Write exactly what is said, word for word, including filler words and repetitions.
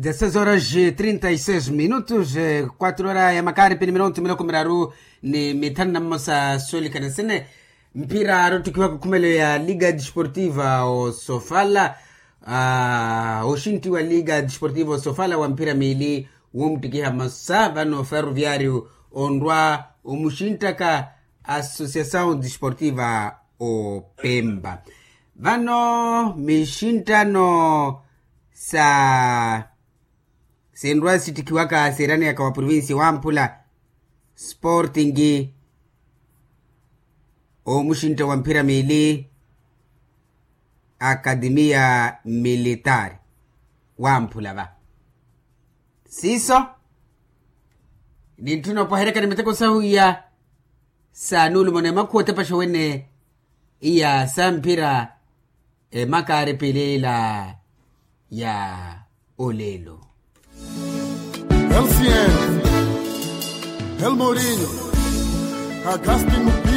Dezesseis horas e trinta e seis minutos, quatro horas ya makaari pini minutu miloko miraru ni mithanu na mmosa soolikana sene. Mphira aari ottikiwaka okhumelo ya liga desportiva osofala. Oxintti wa liga desportiva osofala wa mphira miili womuttikiha mmosa vano ferroviario onrwa omuxinttaka associação desportiva opempa. Vano mixinttano sa sinrwa sittikiwaka siraneyaka wa provincia wamphula sporting omuxintta wa mphira miili akademia militar wamphula va siiso nintthuna opwaheryaka ni miteko sahu iya sa nuulumo na emakhuwa otepaxa wene iya sa mphira emakaari pili ila ya olelo. Lcn, el morinho, agasti.